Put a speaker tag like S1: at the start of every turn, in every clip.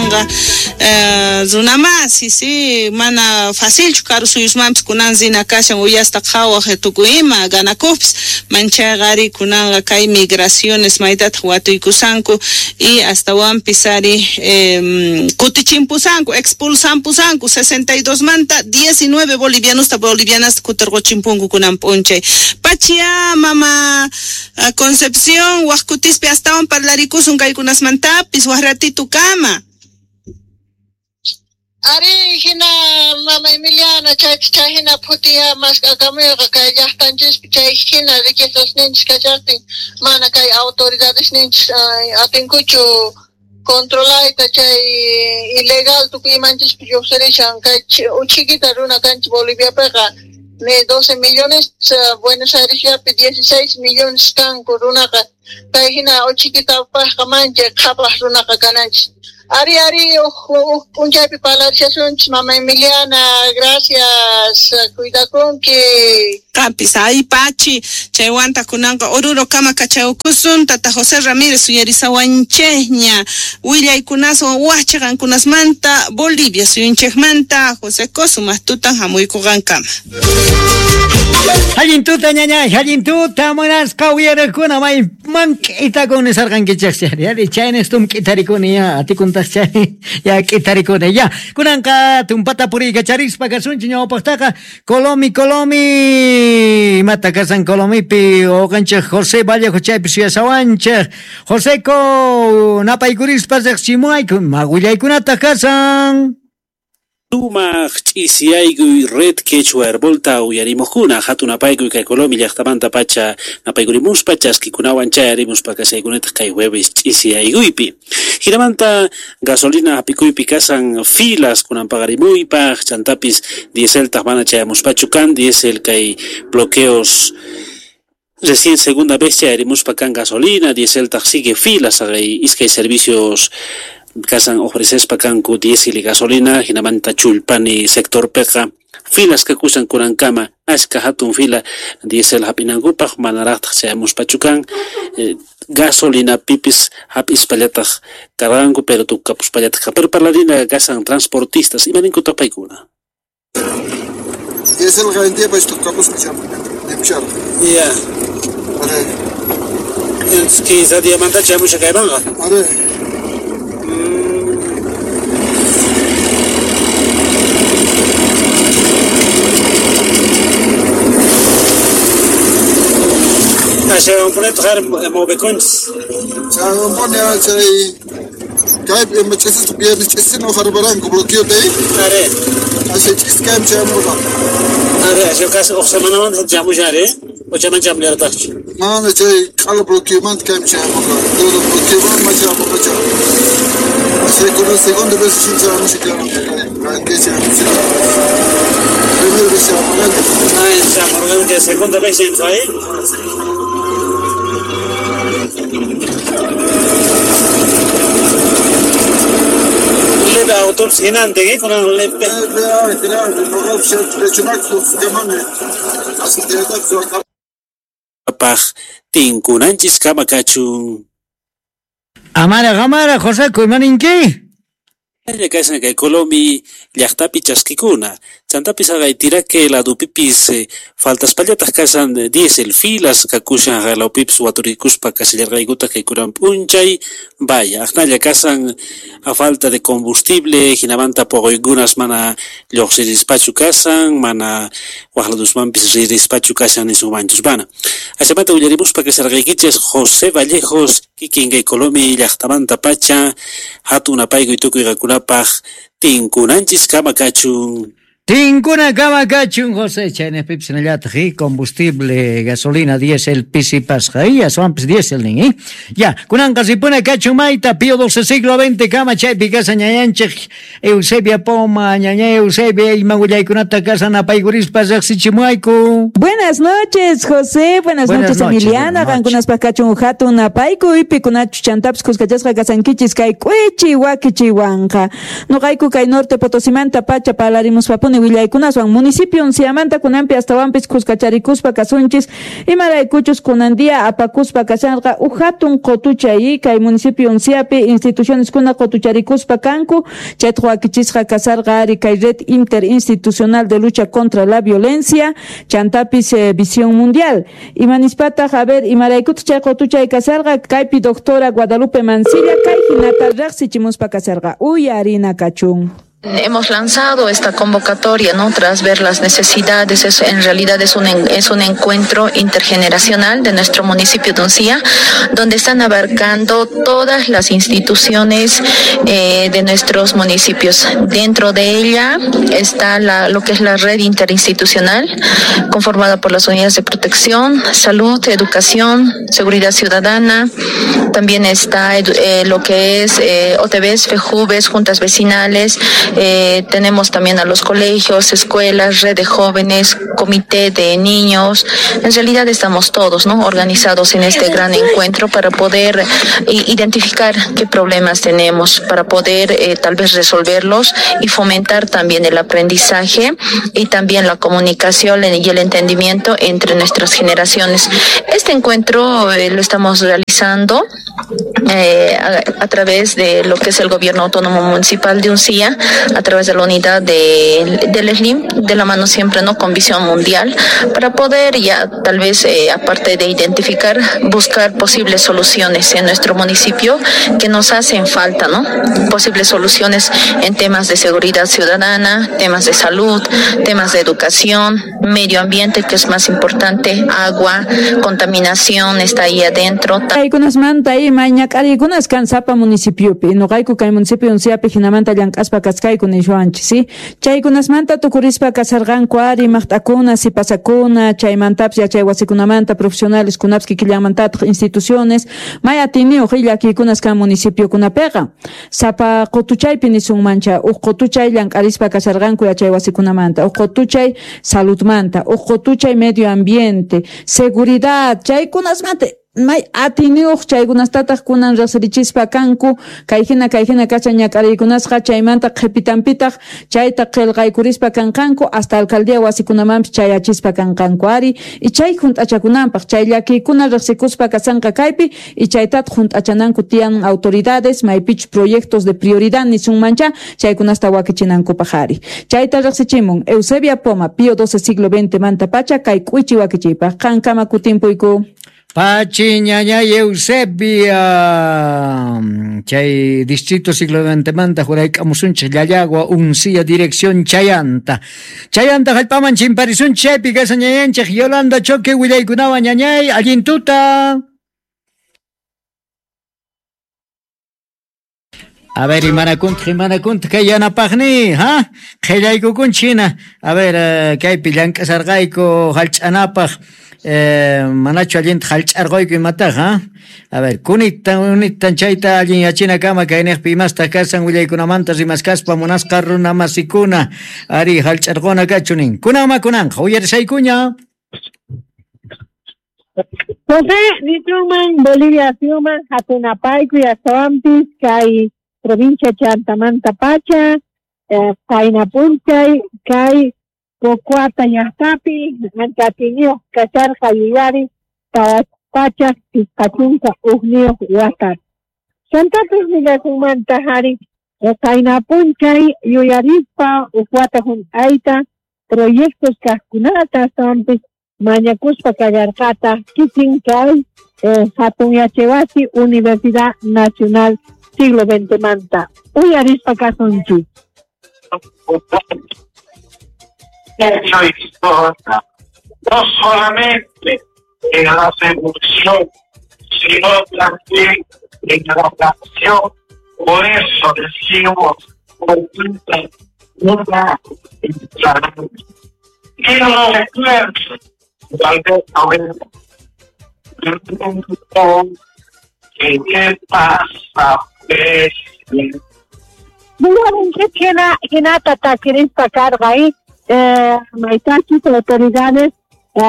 S1: Kunanqa runamasi, sí, mana facilchu karu suyusmanpis kunan rina kashan uyasta qhawaj tukuy ima ganakojpis, manchayqa ari kunanqa kay migraciones maytataq watuykusanku y astawanpis ari kutichinpusanku, expulsanpusanku 62 manta 19 bolivianosta bolivianasta kutirquchimpunku kunan p'unchay. Pachia mama Concepción, waj kutispi astawan parlarikusun kaykunasmantapis, waj ratito kama.
S2: Ari hina mama Emiliana chay hina phutiya mask'akamuyqa kay llaqtanchispi chay hina riquezasninchis kachaqtin mana kay autoridadesninchis atinkuchu controlayta chay ilegal tukuy imanchispi lluqsirishan kay uchikita runa kanchis Boliviapiqa ni 12 millones Buenos Airesllapi 16 millones kanku runaqa kay hina uchikitapaqqa manchay qhapaq runaqa kananchis. Ari ari uj p'unchaypi parlarishasunchis mama Emiliana, gracias, cuidakunki.
S1: Qampis ay pachi, chaywanta kunanqa Oruro kama kachawkusun, tata José Ramírez uyarisawanchejña, willaykunaswan waj chiqankunasmanta Bolivia suyunchejmanta, José Cosumaq tutan hamuykuqankama.
S3: Allin tuta ñañay, allin tuta munasqa uyariqkuna mayman k'itakun nisarqankichej yari chaynestum k'itarikuni ya atikuntaq chay ya k'itarikuni ya kunanqa tumpata puriykacharispa kasunchik ñawpaqtaqa Colomi Colomi imata kasan Colomipi uqanchik José Vallejo chaypi suyasawanchik Joseco napaykurispa riqsimuwayku ima willaykunataq kasan.
S4: Sumaq ch'isiyaykuy Red Quechua Herbolta uyarimuqkuna hatun napaykuy kay Colomi llaqtamanta pacha napaykurimuspa chaskikunawan chayarimuspa kasaykunataq kay jueves ch'isiyaykuypi. Hinamanta gasolina hap'ikuypi kasan filas kunan paqarimuypaq chantapis dieseltaq mana chayamuspachu kan diesel kay bloqueos recién segunda vez chayarimuspa kan gasolina dieseltaq sigue filas haqay iskay servicios kasan ofrecespa kanku diésel y gasolina hinamanta Chullpani sectorpiqa filas kakusan kunankama ashka hatun fila diésel hap'inankupaq manaraqtaq chayamuspachu kan gasolina pipis hap'ispallataq karqanku pero tukapuspallataq pero parlarina kasan transportistas imaninkutaq paykuna.
S5: Diesel qantiapas tukapusqa chamushar.
S4: Ya.
S5: Are.
S4: Entonces 15 diamanta chamusha kaymanqa.
S5: Are.
S4: Ashawanpunataq har movekunchis.
S5: Chawanpuni chay kaypi ima ch'isista viernes ch'isina uqharparanku bloqueota ahí.
S4: Are.
S5: Asha ch'is kaymi chayamurqa.
S4: Are, asha kasi uq semanamanta chamushan are, o chayman chamullarqataqchu.
S5: Mana chay q'ala bloqueomanta kaymi chayamurqa. Todo bloqueomanta ma chayamurqachu. Asha kunan segunda vez chin chayamusha kay chayamusha. Primera vez chayamurqanku.
S4: Ah, chamurqanku segunda vez ahí. Leve autobús hinante, ¿eh? Con el leve. Paj tinkunanchis kama kachun.
S3: Amara, amara, José, imaninki?
S4: Kasan kay Colomi llaqtapi chaskikuna. Chantapis haqay Tiraque ladupipis faltaspallataq kasan diésel filas kakushan haqlawpipis waturikuspa kasillarqaykutaq kay kunan p'unchay vaya aqnalla kasan a falta de combustible hinamanta puquykunas mana lluqsirispachu kasan mana waq ladusmanpis ririspachu kashan nisunmanchus mana. Ashamanta willarimuspa kasarqaykichis José Vallejos kikin kay Colomi llaqtamanta pacha hatun napaykuy tukuy qakunapaq tinkunanchis kama kachun.
S3: Tinkuna kama kachun, José, chaynejpipis hinallataq, combustible, gasolina, diésel, pisipasqa, aswanpis diésel nin, Ya, kunanqa ripuna kachun mayta, Pío XII siglo XX kama chaypi kasa ñañanchik, Eusebia Poma, ñaña Eusebia, ima willaykunata kasa napaykurispa riqsichimuayku.
S6: Buenas noches, José, buenas noches, Emiliana, qankunaspaq kachun hatun napaykuy, pikunachu chantapis kuskachasqa kasankichis kay k'uichi wakichiwanqa. Nuqayku kay Norte Potosimanta pacha parlarimuspapuni sumajpuni willaykunaswan municipio Unciamanta kunanpi astawanpis khuskacharikuspa kasunchis imaraykuchus kunan día apakuspa kashanqa uj hatun qotuchay kay municipio Unciapi instituciones kuna qotucharikuspa kanku chayta wakichisqa kasarqa ari kay red interinstitucional de lucha contra la violencia chantapis visión mundial imanispataq a ver imaraykuta chay qotuchay kasarqa kaypi doctora Guadalupe Mancilla kay hinata riqsichimuspa kasarqa uyarina kachun.
S7: Hemos lanzado esta convocatoria, ¿no? Tras ver las necesidades, en realidad es un encuentro intergeneracional de nuestro municipio de Uncía, donde están abarcando todas las instituciones de nuestros municipios. Dentro de ella está lo que es la red interinstitucional, conformada por las unidades de protección, salud, educación, seguridad ciudadana. También está lo que es OTVs, FEJUVES, juntas vecinales. Tenemos también a los colegios, escuelas, red de jóvenes, comité de niños. En realidad estamos todos, ¿no?, organizados en este gran encuentro para poder identificar qué problemas tenemos, para poder tal vez resolverlos y fomentar también el aprendizaje y también la comunicación y el entendimiento entre nuestras generaciones. Este encuentro lo estamos realizando a través de lo que es el Gobierno Autónomo Municipal de Uncía, a través de la unidad del SLIM, de la mano siempre, ¿no?, con Visión Mundial, para poder ya tal vez, aparte de identificar, buscar posibles soluciones en nuestro municipio que nos hacen falta, ¿no? Posibles soluciones en temas de seguridad ciudadana, temas de salud, temas de educación, medio ambiente, que es más importante, agua, contaminación está ahí adentro.
S6: Kaykunasmanta mañak'ariykunas kan sapa municipiopi, noqayku kay municipio Unciapi hinamanta llank'aspa kaskayku nishuanchis, ¿sí? Chaykunasmanta tukurispa kasarqanku ari maqt'akuna, sipasakuna, chaymantapis yachay wasikunamanta profesionales kunapis kikillamantataq instituciones, may atiniyuq llakiykunas kan municipiokunapiqa. Sapa qutuchaypi nisunmancha, uj qutuchay llank'arispa kasarqanku yachay wasikunamanta, uj qutuchay saludmanta, uj qutuchay medio ambiente, seguridad, chaykunasmanta may atiniyuq chaykunastataq kunan riqsirichispa kanku kayhina kashan ñak'ariykunasqa chaymanta qhipitanpitaq chayta qillqaykurispa kanqanku hasta alcaldía wasikunamanpis chayachispa kanqanku ari y chay hunt'achakunanpaq chay llakiykuna riqsikuspa kasanqa kaypi y chaytataq hunt'achananku tiyan autoridades maypichus proyectos de prioridad nisunmancha chaykunasta wakichinankupaq ari chayta riqsichimun Eusebia Poma Pío XII siglo XX manta pacha kay k'uichi wakichiypaq qankama kutimpuyku.
S3: Pachi ñañay Eusebia, chay distrito siglo XX manta jurayk'amusunchik Llallagua Uncía dirección Chayanta. Chayanta hallp'aman chimparisunchik chaypi kashan ñañanchik Yolanda Choque willaykunawan ñañay allin tuta. A ver, imanakuntaq kay yanapaqni, ha? Qhillaykukunchik hina. A ver, kaypi llank'asarqayku hallch'anapaq. Manachu allinta hallch'arquyku imataq, ha? A ver, kunitan chayta allin yachinakama kayniqpi imastaq kasan willaykunamanta rimaskaspa munasqa runa masikuna ari hallch'arquna kachu nin. Kunanma kunanqa uyarisaykuña.
S8: José nisunman Bolivia suyuman hatunapayku astawanpis kay provincia Chantamanta pacha, Qaynapunchay kay Pocuata llaqtapi ancha atiyniyuq kasharqa yuyari 401 wata. Chantapis nillasunmanta ari Qaynapunchay yuyarispa uj wata hunt'ayta proyectos kaqkunata astawanpis mañakuspa kallarqata kikin kay hatun yachaywasi Universidad Nacional siglo XX manta. Uyarispa kasunchik.
S9: No solamente en la seducción, sino también en la acción. Por eso decimos, una y no recuerdo, tal vez ahora, ¿qué pasa?
S8: Hinata takirispa karqa ahí, maytachis autoridades,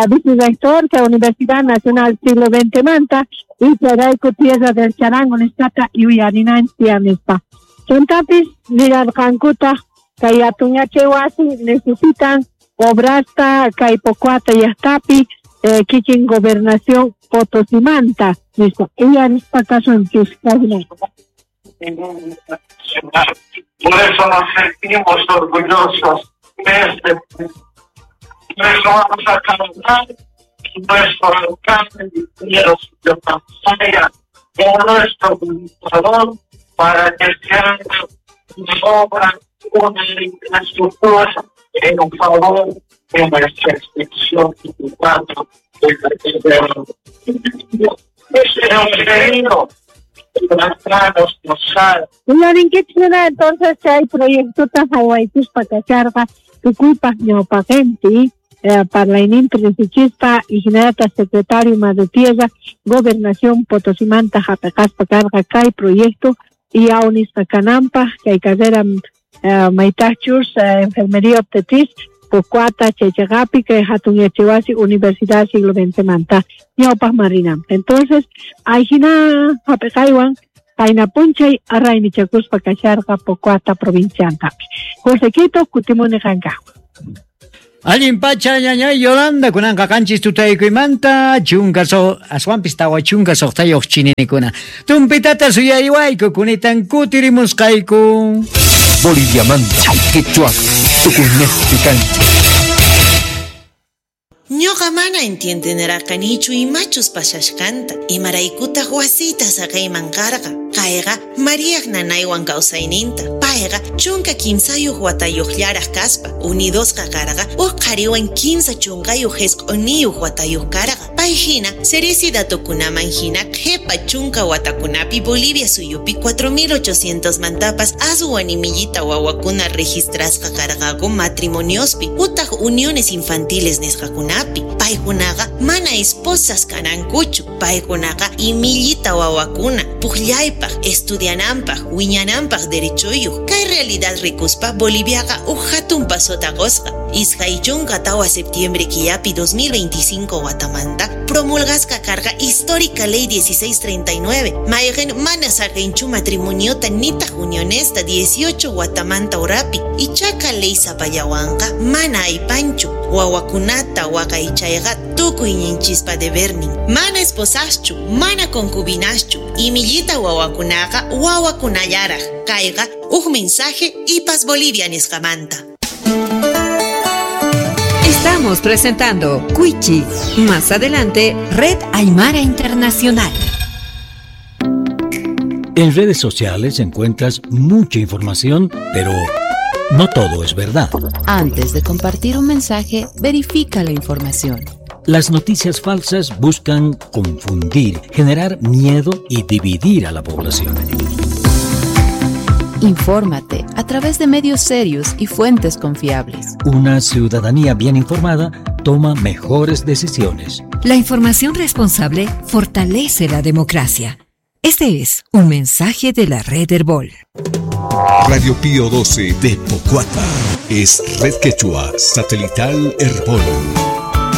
S8: vicerrector de la Universidad Nacional Siglo XX manta y chayrayku Tierra del Charango nisqata yuyarinanchik nispa. Chantapis nirarqankutaq Kay hatun yachay wasi necesitan obrasta kay Pocoata llaqtapi kikin gobernación Potosimanta nispa uyarispa kasunchis kayna.
S9: Por eso nos sentimos orgullosos desde por eso vamos a cantar nuestro alcalde de Pampaya con nuestro gobernador para que se haga una obra, una infraestructura en favor de nuestra institución Ese era un pedido.
S8: Uyarinkichkuna entonces chay proyectota haywaykuspa kacharqa tukuypaq ñawpaqinpi parlayninpi riqsichispa y hinallataq secretario Madre Tierra Gobernación Potosimanta hap'iqaspa karqa kay proyecto y awnisqa kananpaq kay carrera maytaqchus enfermería obstetriz Pocoata chaychaqapi kay hatun yachaywasi Universidad Siglo XX manta ñawpaqman rinanpaq. Entonces ayhina hap'iqaywan payna punchay arraymichakuspa kasharqa Pocoata provinciantapi. Josequito kutimuni qankawan.
S3: Allin pacha ñañay Yolanda kunanqa qanchis tutaykuymanta chunka aswanpis tawa chunka suqtayuq chininikuna. Tumpitata suyariwayku kunitan kutirimusqayku.
S10: Boliviamanta quechua tukuynejpi kanchik.
S11: Ñuqa mana entiendenarqanichu imachus pasashqanta, imaraykutaq wasiyta saqayman karqa. Kayqa Mariaq nanaywan kawsayninta. Payqa 13 watayuqllaraq kaspa, unidosqa karqa uj qhariwan 39 watayuq karqa. Pay hina Ceresi datukunaman hina qhipa 10 watakunapi Bolivia suyupi 4800 mantapas aswan imillita wawakuna registrasqa karqaku matrimoniospi utaq uniones infantiles nisqakunapi. Paykunaqa mana esposas kanankuchu, paykunaqa imillita wawakuna puqllaypaq, estudiananpaq, wiñananpaq derechoyuq. Kay realidad rikuspa Boliviaqa uj hatun pasota qusqa. 24 septiembre killapi 2025 watamanta promulgasqa karqa histórica ley 1639 mayqin mana saqinchu matrimoniota nitaq unionesta 18 watamanta urapi. Ichaqa ley sapallawanqa mana aypanchu wawakunata waqaychayqa tukuyninchispa debernin. Mana esposaschu, mana concubinaschu, imillita wawakunaqa wawakunallaraq. Kayqa uj mensaje IPAS Bolivia nisqamanta.
S12: Estamos presentando Cuichi. Más adelante, Red Aymara Internacional.
S13: En redes sociales encuentras mucha información, pero no todo es verdad.
S14: Antes de compartir un mensaje, verifica la información.
S13: Las noticias falsas buscan confundir, generar miedo y dividir a la población.
S14: Infórmate a través de medios serios y fuentes confiables.
S13: Una ciudadanía bien informada toma mejores decisiones.
S12: La información responsable fortalece la democracia. Este es un mensaje de la Red Herbol.
S10: Radio Pío 12 de Pocoata es Red Quechua Satelital Herbol.